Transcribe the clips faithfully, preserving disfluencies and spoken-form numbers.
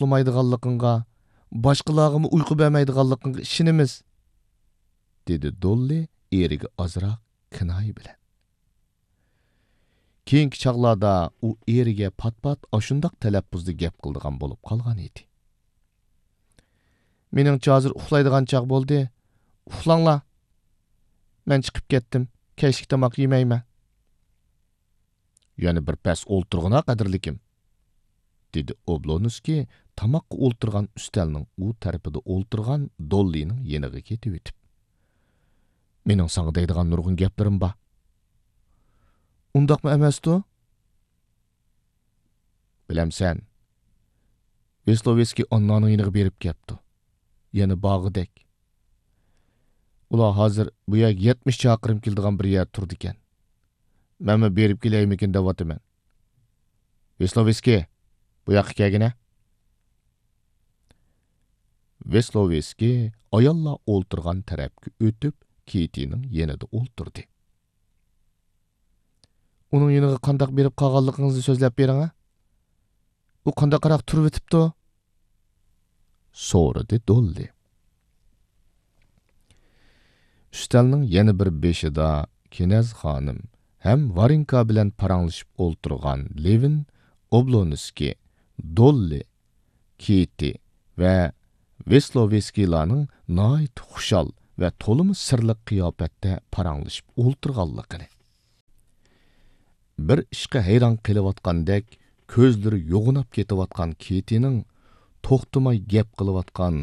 ئۇخلىمايدىغانلىقىڭغا، باشقىلارغىمۇ ئۇيقۇ بەرمەيدىغانلىقىڭغا ئىشىنىمىز، دېدى دوللى ئېرىگە ئازراق كىنايە بىلەن. كېيىنكى چاغلاردا ئۇ ئېرىگە پات-پات ئاشۇنداق تەلەپپۇزدا گەپ قىلىدىغان بولۇپ قالغان ئىدى. مېنىڭچە ھازىر ئۇخلايدىغان چاغ بولدى. ئۇخلاڭلار. مەن چىقىپ كەتتىم. كەچلىك تاماق يېمەيمەن. يەنە بىر پەس ئولتۇرغىنا، قەدىرلىكىم، دېدى ئوبلونسكىي تاماققا ئولتۇرغان ئۈستەلنىڭ ئۇ تەرىپىدە ئولتۇرغان دوللىنىڭ يېنىغا كېتىۋېتىپ. مېنىڭ ساڭا دەيدىغان نۇرغۇن گەپلىرىم بار. ئۇنداقمۇ ئەمەستۇ؟ بىلەمسەن، ۋېسلوۋېسكىي ئاننانىڭ يېنىغا بېرىپ كەپتۇ. يەنە بارغۇدەك. ئۇلار ھازىر بۇ يەرگە يەتمىش چاقىرىم كېلىدىغان بىر يەردە تۇرىدىكەن. مەنمۇ بېرىپ كېلەيمىكىن دەۋاتىمەن. ۋېسلوۋېسكىي، بۇ ياققا كەلگىنە. ۋېسلوۋېسكىي ئاياللار ئولتۇرغان تەرەپكە ئۆتۈپ، كېتىنىڭ يېنىدا ئولتۇردى. ئۇنىڭ يېنىغا قانداق بېرىپ قالغانلىقىڭىزنى سۆزلەپ بېرىڭە. ئۇ قانداقراق تۇرۇۋېتىپتۇ؟ سورىدى دوللى. ئۈستەلنىڭ يەنە بىر بېشىدا كىنەز خانىم ھەم ۋارېنكا بىلەن پاراڭلىشىپ ئولتۇرغان لېۋىن ئوبلونسكىي، دوللى، كېتى ۋە ۋېسلوۋېسكىيلارنىڭ ناھايىتى خۇشال ۋە تولىمۇ سىرلىق قىياپەتتە پاراڭلىشىپ ئولتۇرغانلىقىنى، بىر ئىشقا ھەيران قېلىۋاتقاندەك كۆزلىرى يوغىناپ كېتىۋاتقان كېتىنىڭ توختىماي گەپ قىلىۋاتقان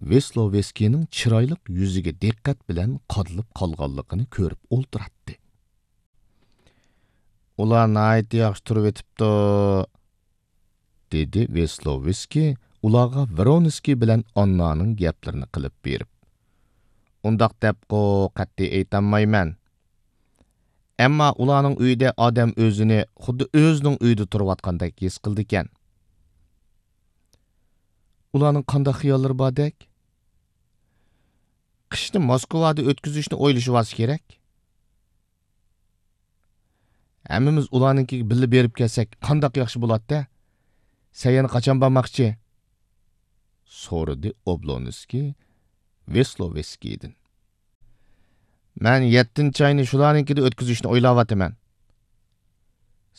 ۋېسلوۋېسكىينىڭ چىرايلىق يۈزىگە دىققەت بىلەن قادىلىپ قالغانلىقىنى كۆرۈپ ئولتۇراتتى. ئۇلار ناھايىتى ياخشى تۇرۇۋېتىپتۇ، دېدى ۋېسلوۋېسكىي ئۇلارغا ۋرونسكىي بىلەن ئاننانىڭ گەپلىرىنى قىلىپ بېرىپ. ئۇنداق دەپقۇ قەتئىي ئېيتالمايمەن. ئەمما ئۇلارنىڭ ئۆيىدە ئادەم ئۆزىنى خۇددى ئۆزىنىڭ ئۆيىدە تۇرۇۋاتقاندەك ھېس قىلىدىكەن. ئۇلارنىڭ قانداق خىياللىرى باردەك؟ قىشنى موسكۋادا ئۆتكۈزۈشنى ئويلىشىۋالسا كېرەك. ھەممىمىز ئۇلارنىڭكىگە بىللە بېرىپ كەلسەك، قانداق ياخشى بولاتتى. سەن يەنە قاچان بارماقچى؟ سورىدى ئوبلونسكىي ۋېسلوۋېسكىيدىن. مەن يەتتىنچى ئاينى شۇلارنىڭكىدە ئۆتكۈزۈشنى ئويلاۋاتىمەن.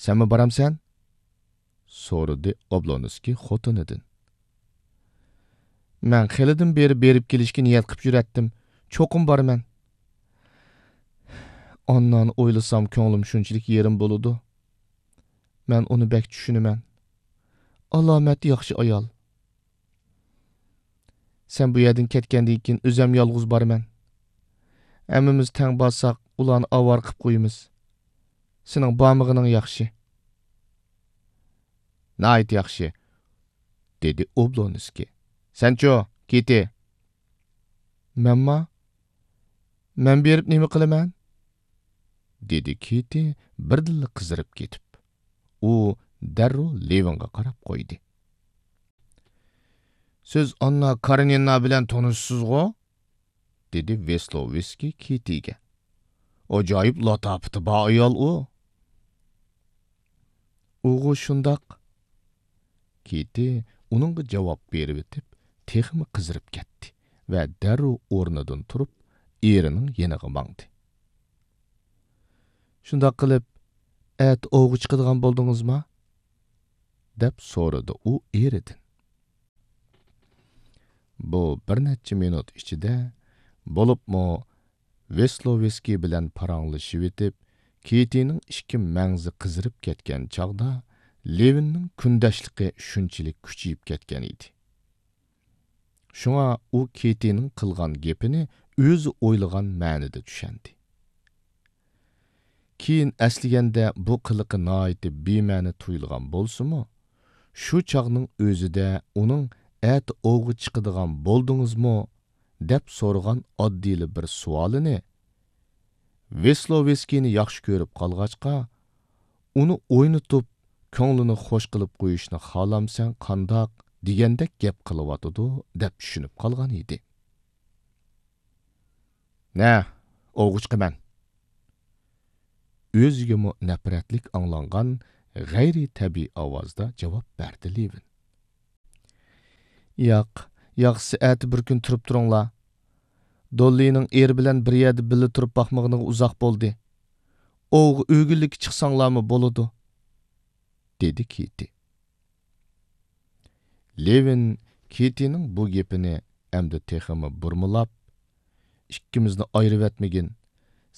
سەنمۇ بارامسەن؟ سورىدى ئوبلونسكىي خوتۇنىدىن. مەن خېلىدىن بېرى بېرىپ كېلىشكە نىيەت قىپ يۈرەتتىم. چوقۇم بارىمەن. ئاننانى ئويلىسام، كۆڭلۈم شۇنچىلىك يېرىم بولىدۇ. مەن ئۇنى بەك چۈشىنىمەن. ئالامەت ياخشى ئايال. سەن بۇ يەردىن كەتكەندىن كېيىن ئۆزەم يالغۇز بارىمەن. ھەممىمىز تەڭ بارساق، ئۇلارنى ئاۋارە قىپ قويىمىز. سېنىڭ بارمىغىنىڭ ياخشى. ناھايىتى ياخشى، دېدى ئوبلونسكىي. سەنچۇ، كېتى؟ مەنما؟ مەن بېرىپ نېمە قىلىمەن؟ دېدى كېتى بىردىنلا قىزىرىپ كېتىپ. ئۇ دەررۇ لېۋىنغا قاراپ قويدى. سىز ئاننا كارېنىنا بىلەن تونۇشسىزغۇ؟ دېدى ۋېسلوۋېسكىي كېتىگە. ئاجايىپ لاتاپىتى بار ئايال ئۇ. ئۇغۇ شۇنداق. كېتى ئۇنىڭغا جاۋاب بېرىۋېتىپ، تېخىمۇ قىزىرىپ كەتتى ۋە دەررۇ ئورنىدىن تۇرۇپ، ئېرىنىڭ يېنىغا ماڭدى. شۇنداق قىلىپ، ئەتە ئوۋغا چىقىدىغان بولدىڭىزما؟ دەپ سورىدى ئۇ ئېرىدىن. بۇ بىر نەچچە مىنۇت ئىچىدە، بولۇپمۇ ۋېسلوۋېسكىي بىلەن پاراڭلىشىۋېتىپ، كېتىنىڭ ئىككى مەڭزى قىزىرىپ كەتكەن چاغدا، لېۋىننىڭ كۈندەشلىكى شۇنچىلىك كۈچىيىپ كەتكەن ئىدى. شۇڭا ئۇ كېتىنىڭ قىلغان گېپىنى ئۆزى ئويلىغان مەنىدە چۈشەندى. كېيىن ئەسلىگەندە بۇ قىلىقى ناھايىتى بىمەنە تۇيۇلغان بولسىمۇ، شۇ چاغنىڭ ئۆزىدە ئۇنىڭ «ئەتە ئوۋغا چىقىدىغان بولدىڭىزمۇ؟» دەپ سورىغان ئاددىيلا بىر سوئالىنى ۋېسلوۋېسكىينى ياخشى كۆرۈپ قالغاچقا، ئۇنى ئوينىتىپ، كۆڭلىنى خوش قىلىپ قويۇشنى خالامسەن قانداق دېگەندەك گەپ قىلىۋاتىدۇ دەپ چۈشىنىپ قالغان ئىدى. نە، ئوۋغا چىقىمەن. ئۆزىگىمۇ نەپرەتلىك ئاڭلانغان غەيرىي تەبىئىي ئاۋازدا جاۋاب بەردى لېۋىن. ياق، ياخشىسى ئەتە بىر كۈن تۇرۇپ تۇرۇڭلار. دوللىنىڭ ئېرى بىلەن بىر يەردە بىللە تۇرۇپ باقمىغىنىغا ئۇزاق بولدى. ئوۋغا ئۆگۈنلۈككە چىقساڭلارمۇ بولىدۇ، دېدى كېتى. لېۋىن كېتىنىڭ بۇ گېپىنى ئەمدى تېخىمۇ بۇرمىلاپ، ئىككىمىزنى ئايرىۋەتمىگىن.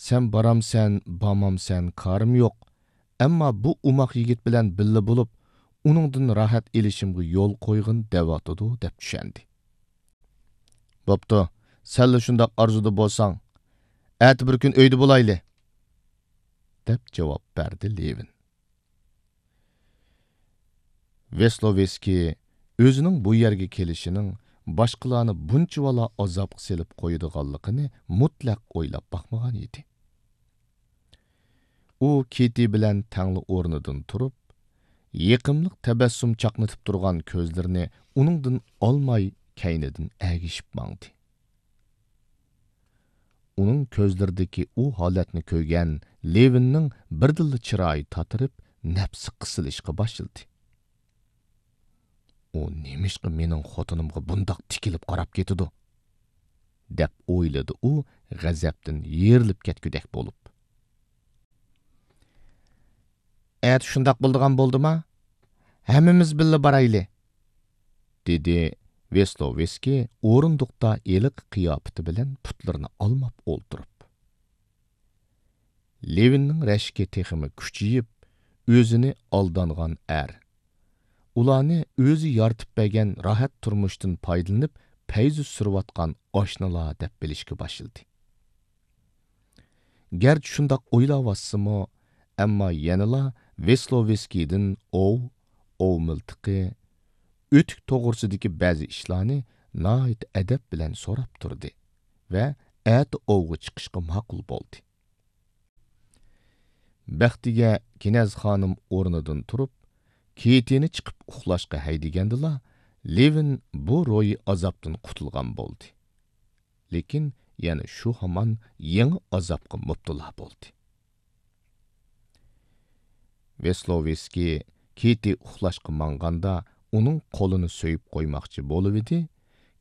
سەن بارامسەن، بارمامسەن، كارىم يوق. ئەمما بۇ ئوماق يىگىت بىلەن بىللە بولۇپ، ئۇنىڭدىن راھەت ئېلىشىمغا يول قويغىن دەۋاتىدۇ، دەپ چۈشەندى. بوپتۇ، سەنلا شۇنداق ئارزۇدا بولساڭ، ئەتە بىر كۈن ئۆيدە بولايلى، دەپ جاۋاب بەردى لېۋىن. ۋېسلوۋېسكىي ئۆزىنىڭ بۇ يەرگە كېلىشىنىڭ باشقىلارنى بۇنچىۋالا ئازابقا سېلىپ قويىدىغانلىقىنى مۇتلەق ئويلاپ باقمىغان ئىدى. ئۇ كېتى بىلەن تەڭلا ئورنىدىن تۇرۇپ، يېقىملىق تەبەسسۇم چاقنىتىپ تۇرغان كۆزلىرىنى ئۇنىڭدىن ئالماي كەينىدىن ئەگىشىپ ماڭدى. ئۇنىڭ كۆزلىرىدىكى ئۇ ھالەتنى كۆرگەن لېۋىننىڭ بىردىنلا چىرايى تاتىرىپ، نەپسى قىسىلىشقا باشلىدى. ئۇ نېمىشقا مېنىڭ خوتۇنۇمغا بۇنداق تىكىلىپ قاراپ كېتىدۇ؟ دەپ ئويلىدى ئۇ، غەزەپتىن يېرىلىپ كەتكۈدەك بولۇپ. ئەتە شۇنداق بولىدىغان بولدىما؟ ھەممىمىز بىللە بارايلى، دېدى ۋېسلوۋېسكىي ئورۇندۇقتا ھېلىقى قىياپىتى بىلەن پۇتلىرىنى ئالماپ ئولتۇرۇپ. لېۋىننىڭ رەشكى تېخىمۇ كۈچىيىپ، ئۆزىنى ئالدانغان ئەر، ئۇلارنى ئۆزى يارىتىپ بەرگەن راھەت تۇرمۇشتىن پايدىلىنىپ پەيزى سۈرۈۋاتقان ئاشنىلار دەپ بىلىشكە باشلىدى. گەرچە شۇنداق ئويلاۋاتسىمۇ، ئەمما يەنىلا ۋېسلوۋېسكىيدىن ئوۋ، ئوۋ مىلتىقى، ئۆتۈك توغرىسىدىكى بەزى ئىشلارنى ناھايىتى ئەدەپ بىلەن سوراپ تۇردى ۋە ئەتە ئوۋغا چىقىشقا ماقۇل بولدى. بەختىگە كىنەز خانىم ئورنىدىن تۇرۇپ، كېتىنى چىقىپ ئۇخلاشقا ھەيدىگەندىلا، لېۋىن بۇ روھىي ئازابتىن قۇتۇلغان بولدى. لېكىن يەنە شۇ ھامان يېڭى ئازابقا مۇپتىلا بولدى. ۋېسلوۋېسكىي كېتى ئۇخلاشقا ماڭغاندا ئۇنىڭ قولىنى سۆيۈپ قويماقچى بولۇۋىدى،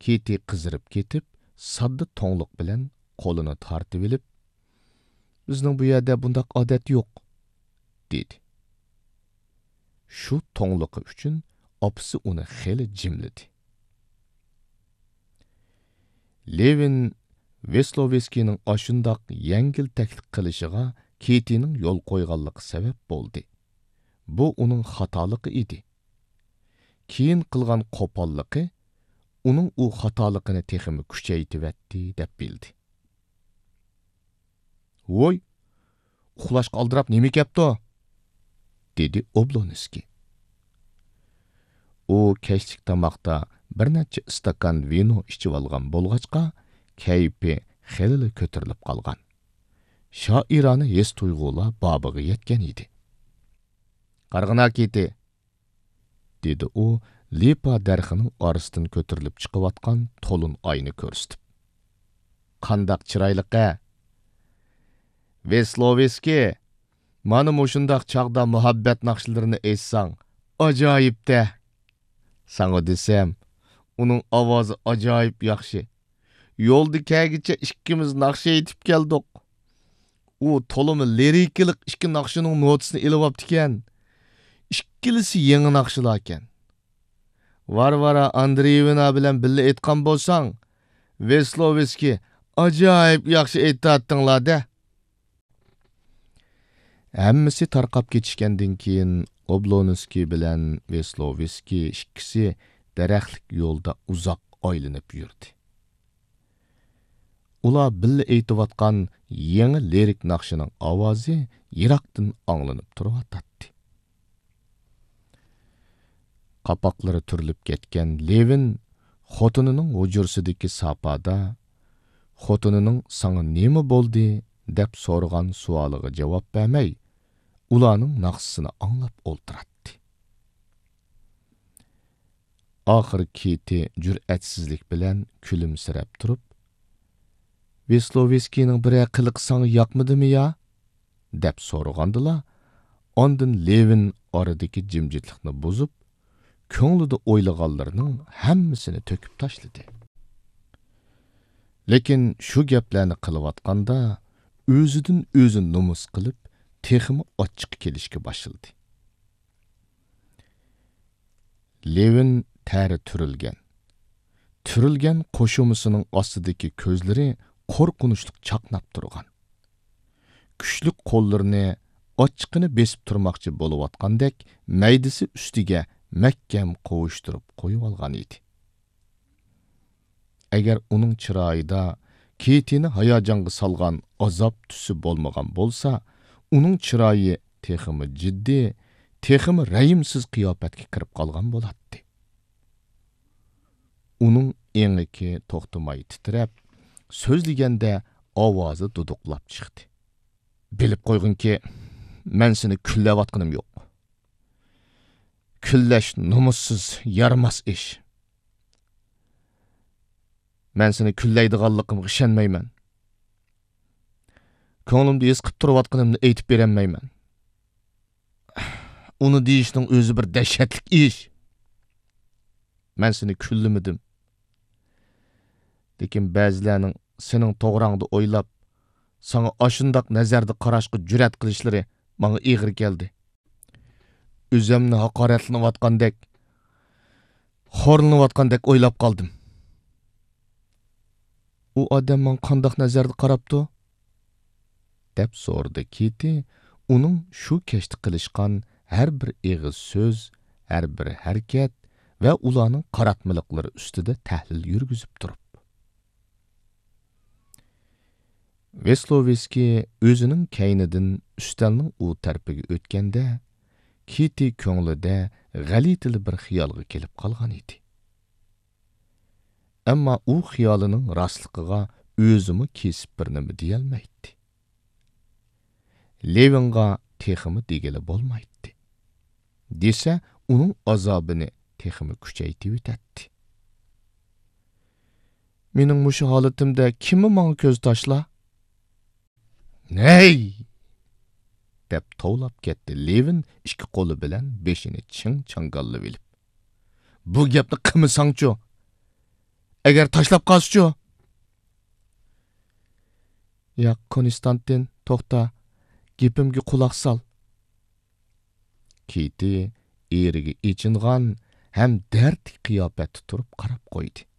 كېتى قىزىرىپ كېتىپ، ساددا توڭلۇق بىلەن قولىنى تارتىۋېلىپ، «بىزنىڭ بۇ يەردە بۇنداق ئادەت يوق» دېدى. شۇ توڭلۇقى ئۈچۈن ئاپىسى ئۇنى خېلى جىملىدى. لېۋىن ۋېسلوۋېسكىينىڭ ئاشۇنداق يەڭگىلتەكلىك قىلىشىغا كېتىنىڭ يول قويغانلىقى سەۋەب بولدى. بۇ ئۇنىڭ خاتالىقى ئىدى. كېيىن قىلغان قوپاللىقى ئۇنىڭ ئۇ خاتالىقىنى تېخىمۇ كۈچەيتىۋەتتى، دەپ بىلدى. «ۋوي، ئۇخلاشقا ئالدىراپ نېمە كەپتۇ؟» دېدى ئوبلونسكىي. ئۇ كەچلىك تاماقتا بىر نەچچە ئىستاكان ۋىنو ئىچىۋالغان بولغاچقا، كەيپى خېلىلا كۆتۈرۈلۈپ قالغان. شائىرانە ھېس-تۇيغۇلار بابىغا يەتكەن ئىدى. «قارىغىنا، كېتى!» دېدى ئۇ لىپا دەرىخىنىڭ ئارىسىدىن كۆتۈرۈلۈپ چىقىۋاتقان تولۇن ئاينى كۆرسىتىپ. «قانداق چىرايلىق-ھە! ۋېسلوۋېسكىي، مانا مۇشۇنداق چاغدا مۇھەببەت ناخشىلىرىنى ئېيتساڭ، ئاجايىپ-دە! ساڭا دېسەم، ئۇنىڭ ئاۋازى ئاجايىپ ياخشى. يولدا كەلگىچە ئىككىمىز ناخشا ئېيتىپ كەلدۇق. ئۇ تولىمۇ لىرىكىلىق ئىككى ناخشىنىڭ نوتىسىنى ئېلىۋاپتىكەن. ئىككىلىسى يېڭى ناخشىلاركەن. ۋارۋارا ئاندرېيېۋنا بىلەن بىللە ئېيتقان بولساڭ، ۋېسلوۋېسكىي، ئاجايىپ ياخشى ئېيتاتتىڭلار-دە.» ھەممىسى تارقاپ كېتىشكەندىن كېيىن، ئوبلونسكىي بىلەن ۋېسلوۋېسكىي ئىككىسى دەرەخلىك يولدا ئۇزاق ئايلىنىپ يۈردى. ئۇلار بىللە ئېيتىۋاتقان يېڭى لىرىك ناخشىنىڭ ئاۋازى يىراقتىن ئاڭلىنىپ تۇرۇۋاتاتتى. قاپاقلىرى تۈرۈلۈپ كەتكەن لېۋىن خوتۇنىنىڭ ھۇجرىسىدىكى ساپادا، خوتۇنىنىڭ «ساڭا نېمە بولدى؟» دەپ سورىغان سوئالىغا جاۋاب بەرمەي، ئۇلارنىڭ ناخشىسىنى ئاڭلاپ ئولتۇراتتى. ئاخىرى كېتى جۈرئەتسىزلىك بىلەن كۈلۈمسىرەپ تۇرۇپ، «ۋېسلوۋېسكىينىڭ بىرەر قىلىقى ساڭا ياقمىدىمۇ يا؟» دەپ سورىغاندىلا، ئاندىن لېۋىن ئارىدىكى جىمجىتلىقنى بۇزۇپ، كۆڭلىدە ئويلىغانلىرىنىڭ ھەممىسىنى تۆكۈپ تاشلىدى. لېكىن شۇ گەپلەرنى قىلىۋاتقاندا، ئۆزىدىن ئۆزى نومۇس قىلىپ، تېخىمۇ ئاچچىقى كېلىشكە باشلىدى. لېۋىن تەرى تۈرۈلگەن. تۈرۈلگەن قوشۇمىسىنىڭ ئاستىدىكى كۆزلىرى قورقۇنچلۇق چاقناپ تۇرغان. كۈچلۈك قوللىرىنى ئاچچىقىنى بېسىپ تۇرماقچى بولۇۋاتقاندەك مەيدىسى ئۈستىگە مەھكەم قوۋۇشتۇرۇپ قويۇۋالغان ئىدى. ئەگەر ئۇنىڭ چىرايىدا كېتىنى ھاياجانغا سالغان ئازاب تۈسى بولمىغان بولسا، ئۇنىڭ چىرايى تېخىمۇ جىددىي، تېخىمۇ رەھىمسىز قىياپەتكە كىرىپ قالغان بولاتتى. ئۇنىڭ ئېڭىكى توختىماي تىترەپ، سۆزلىگەندە ئاۋازى دۇدۇقلاپ چىقتى. بىلىپ قويغىنكى، مەن سېنى كۈنلەۋاتقىنىم يوق. كۈنلەش نومۇسسىز، يارىماس ئىش. مەن سېنى كۈنلەيدىغانلىقىمغا ئىشەنمەيمەن. كۆڭلۈمدە ھېس قىلىپ تۇرۇۋاتقىنىمنى ئېيتىپ بېرەلمەيمەن. ئۇنى دېيىشنىڭ ئۆزى بىر دەھشەتلىك ئىش. مەن سېنى كۈنلىمىدىم. لېكىن بەزىلەرنىڭ سېنىڭ توغراڭدا ئويلاپ، ساڭا ئاشۇنداق نەزەردە قاراشقا جۈرئەت قىلىشلىرى ماڭا ئېغىر كەلدى. ئۆزۈمنى ھاقارەتلىنىۋاتقاندەك، خورلىنىۋاتقاندەك ئويلاپ قالدىم. ئۇ ئادەم ماڭا قانداق نەزەردە قاراپتۇ؟ دەپ سورىدى كېتى، ئۇنىڭ شۇ كەچتە قىلىشقان ھەر بىر ئېغىز سۆز، ھەر بىر ھەرىكەت ۋە ئۇلارنىڭ قاراتمىلىقلىرى ئۈستىدە تەھلىل يۈرگۈزۈپ تۇرۇپ. ۋېسلوۋېسكىي ئۆزىنىڭ كەينىدىن ئۈستەلنىڭ ئۇ تەرىپىگە ئۆتكەندە، كېتى كۆڭلىدە غەلىتىلا بىر خىيالغا كېلىپ قالغان ئىدى. ئەمما ئۇ خىيالىنىڭ راستلىقىغا ئۆزىمۇ كېسىپ بىر نېمە دېيەلمەيتتى. لېۋىنغا تېخىمۇ دېگىلى بولمايتتى. دېسە، ئۇنىڭ ئازابىنى تېخىمۇ كۈچەيتىۋېتەتتى. مېنىڭ مۇشۇ ھالىتىمدە كىممۇ ماڭا كۆز تاشلا؟ نەي! دەپ توۋلاپ كەتتى لېۋىن ئىككى قولى بىلەن بېشىنى چىڭ چاڭگاللىۋېلىپ. بۇ گەپنى قىلمىساڭچۇ؟ ئەگەر تاشلاپ قالسىچۇ؟ ياق، كونستانتىن، توختا، گېپىمگە قۇلاق سال. كېتى ئېرىگە ئېچىنغان ھەم دەردلىك قىياپەتتە تۇرۇپ قاراپ قويدى.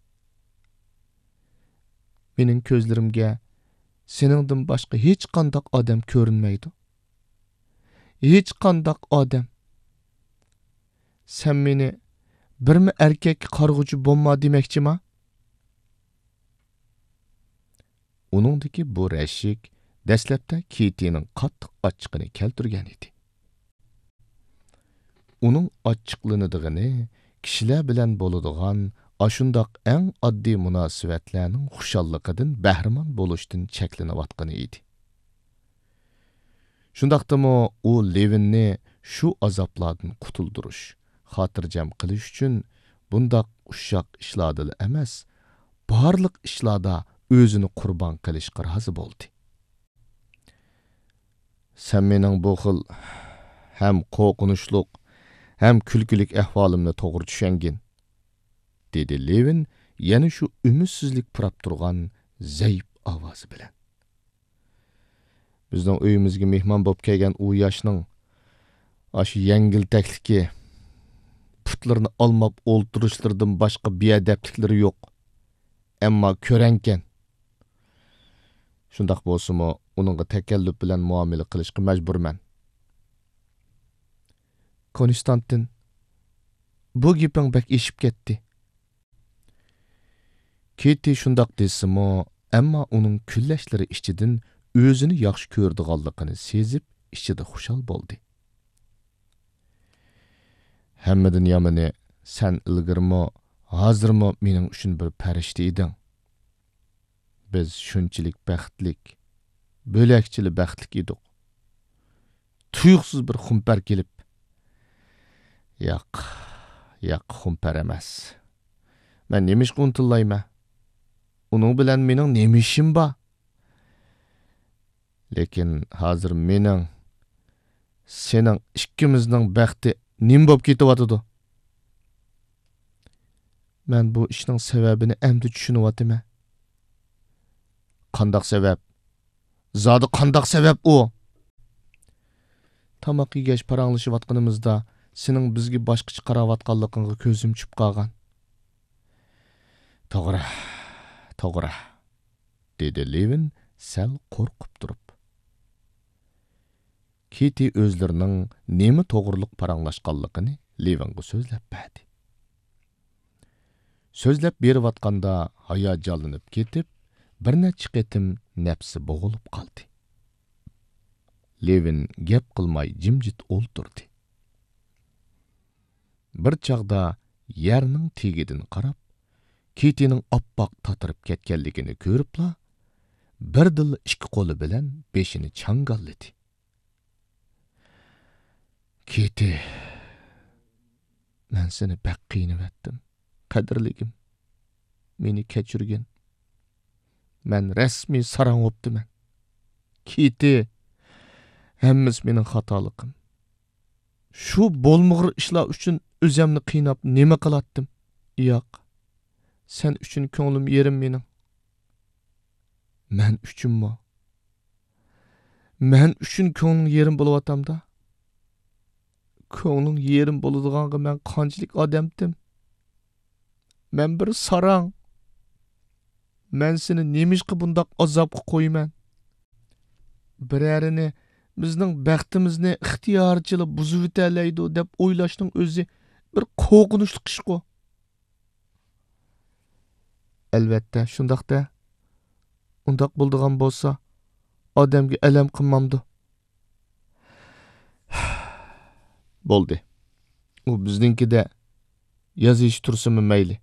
مېنىڭ كۆزلىرىمگە سېنىڭدىن باشقا ھېچقانداق ئادەم كۆرۈنمەيدۇ. ھېچقانداق ئادەم. سەن مېنى بىرمۇ ئەركەككە قارىغۇچى بولما دېمەكچىما؟ ئۇنىڭدىكى بۇ رەشك دەسلەپتە كېتىنىڭ قاتتىق ئاچچىقىنى كەلتۈرگەن ئىدى. ئۇنىڭ ئاچچىقلىنىدىغىنى كىشىلەر بىلەن بولىدىغان ئاشۇنداق ئەڭ ئاددىي مۇناسىۋەتلەرنىڭ خۇشاللىقىدىن بەھرىمەن بولۇشتىن چەكلىنىۋاتقىنى ئىدى. شۇنداقتىمۇ ئۇ لېۋىننى شۇ ئازابلاردىن قۇتۇلدۇرۇش، خاتىرجەم قىلىش ئۈچۈن بۇنداق ئۇششاق ئىشلاردىلا ئەمەس، بارلىق ئىشلاردا ئۆزىنى قۇربان قىلىشقا رازى بولدى. سەن مېنىڭ بۇ خىل ھەم قورقۇنچلۇق، ھەم كۈلكىلىك ئەھۋالىمنى توغرا چۈشەنگىن، دېدى لېۋىن يەنە شۇ ئۈمىدسىزلىك پۇراپ تۇرغان زەئىپ ئاۋازى بىلەن. بىزنىڭ ئۆيىمىزگە مېھمان بولۇپ كەلگەن ئۇ ياشنىڭ ئاشۇ يەڭگىلتەكلىكى، پۇتلىرىنى ئالماپ ئولتۇرۇشلىرىدىن باشقا بىئەدەپلىكلىرى يوق. ئەمما كۆرەڭكەن. شۇنداق بولسىمۇ، ئۇنىڭغا تەكەللۇپ بىلەن مۇئامىلە قىلىشقا مەجبۇرمەن. كونستانتىن، بۇ گېپىڭ بەك ئېشىپ كەتتى. كېتى شۇنداق دېسىمۇ، ئەمما ئۇنىڭ كۈنلەشلىرى ئىچىدىن ئۆزىنى ياخشى كۆرىدىغانلىقىنى سېزىپ، ئىچىدە خۇشال بولدى. ھەممىدىن يامىنى، سەن ئىلگىرىمۇ، ھازىرمۇ مېنىڭ ئۈچۈن بىر پەرىشتە ئىدىڭ. بىز شۇنچىلىك بەختلىك، بۆلەكچىلا بەختلىك ئىدۇق. تۇيۇقسىز بىر خۇمپەر كېلىپ، ياق، ياق، خۇمپەر ئەمەس. مەن نېمىشقا ئۇنتۇلايمەن؟ ئۇنىڭ بىلەن مېنىڭ نېمە ئىشىم بار؟ لېكىن ھازىر مېنىڭ، سېنىڭ ئىككىمىزنىڭ بەختى نېمە بولۇپ كېتىۋاتىدۇ؟ مەن بۇ ئىشنىڭ سەۋەبىنى ئەمدى چۈشىنىۋاتىمەن. قانداق سەۋەب؟ زادى قانداق سەۋەب ئۇ؟ تاماق يېگەچ پاراڭلىشىۋاتقىنىمىزدا، سېنىڭ بىزگە باشقىچە قاراۋاتقانلىقىڭغا كۆزۈم چۈشۈپ قالغان. توغرا، توغرا، دېدى لېۋىن سەل قورقۇپ تۇرۇپ. كىتى ئۆزلىرىنىڭ نېمە توغرۇلۇق پاراڭلاشقانلىقىنى لېۋىنغا سۆزلەپ بەردى. سۆزلەپ بېرىۋاتقاندا ھاياجانلىنىپ كېتىپ، بىر نەچچە قېتىم نەپسى بوغۇلۇپ قالدى. لېۋىن گەپ قىلماي جىمجىت ئولتۇردى. بىر چاغدا يەرنىڭ تېگىدىن قاراپ، كىتىنىڭ ئاپئاق تاتىرىپ كەتكەنلىكىنى كۆرۈپلا، بىردىنلا ئىككى قولى بىلەن بېشىنى چاڭگاللىدى. كىتى، مەن سېنى بەك قىينىۋەتتىم، قەدىرلىكىم. مېنى كەچۈرگىن. مەن رەسمىي ساراڭ بوپتىمەن. كىتى، ھەممىسى مېنىڭ خاتالىقىم. شۇ بولمىغۇر ئىشلار ئۈچۈن ئۆزەمنى قىيناپ نېمە قىلاتتىم؟ ياق، سەن ئۈچۈن كۆڭلۈم يېرىم مېنىڭ. مەن ئۈچۈنمۇ؟ مەن ئۈچۈن كۆڭلۈڭ يېرىم بولۇۋاتامدا؟ كۆڭلۈڭ يېرىم بولىدىغانغا مەن قانچىلىك ئادەمتىم؟ مەن بىر ساراڭ. مەن سېنى نېمىشقا بۇنداق ئازابقا قويىمەن؟ بىرەرىنى بىزنىڭ بەختىمىزنى ئىختىيارىچىلا بۇزۇۋېتەلەيدۇ دەپ ئويلاشنىڭ ئۆزى بىر قورقۇنچلۇق ئىشقۇ. ئەلۋەتتە، شۇنداق-دە. ئۇنداق بولىدىغان بولسا، ئادەمگە ئەلەم قىلمامدۇ؟ بولدى. ئۇ بىزنىڭكىدە ياز يېشى تۇرسىمۇ مەيلى.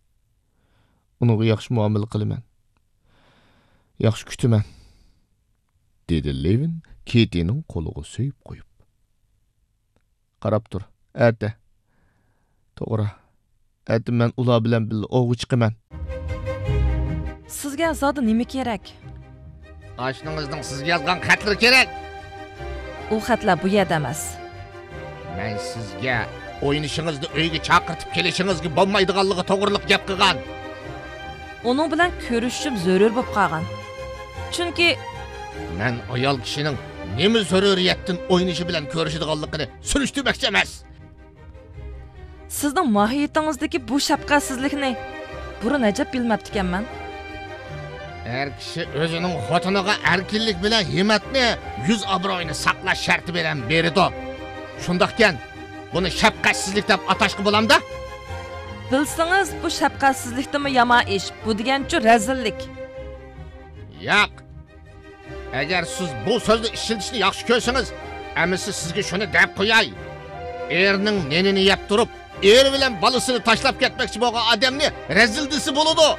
ئۇنىڭغا ياخشى مۇئامىلە قىلىمەن. ياخشى كۈتىمەن، دېدى لېۋىن كېتىنىڭ قولىغا سۆيۈپ قويۇپ. قاراپ تۇر، ئەتە. توغرا، ئەتە مەن ئۇلار بىلەن بىللە ئوۋغا چىقىمەن. سىزگە زادى نېمە كېرەك؟ ئاشنىڭىزنىڭ سىزگە يازغان خەتلىرى كېرەك. ئۇ خەتلەر بۇ يەردە ئەمەس. مەن سىزگە ئوينىشىڭىزنى ئۆيگە چاقىرتىپ كېلىشىڭىزگە بولمايدىغانلىقى توغرىلىق گەپ قىلغان. ئۇنىڭ بىلەن كۆرۈشۈشۈم زۆرۈر بولۇپ قالغان. چۈنكى مەن ئايال كىشىنىڭ نېمە زۆرۈرىيەتتىن ئوينىشى بىلەن كۆرۈشىدىغانلىقىنى سۈرۈشتۈرمەكچى ئەمەس. سىزنىڭ ماھىيىتىڭىزدىكى بۇ شەپقەتسىزلىكنى بۇرۇن ئەجەب بىلمەپتىكەنمەن. ئەر كىشى ئۆزىنىڭ خوتۇنىغا ئەركىنلىك بىلەن ھىممەتنى، يۈز ئابرۇيىنى ساقلاش شەرتى بىلەن بېرىدۇ. شۇنداقكەن، بۇنى شەپقەتسىزلىك دەپ ئاتاشقا بولامدا؟ بىلسىڭىز، بۇ شەپقەتسىزلىكتىنمۇ يامان ئىش. بۇ دېگەنچۇ رەزىللىك. ياق. ئەگەر سىز بۇ سۆزنى ئىشلىتىشنى ياخشى كۆرسىڭىز، ئەمىسە سىزگە شۇنى دەپ قوياي. ئېرىنىڭ نېنىنى يەپ تۇرۇپ، ئېرى بىلەن بالىسىنى تاشلاپ كەتمەكچى بولغان ئادەمنى رەزىل دېسە بولىدۇ.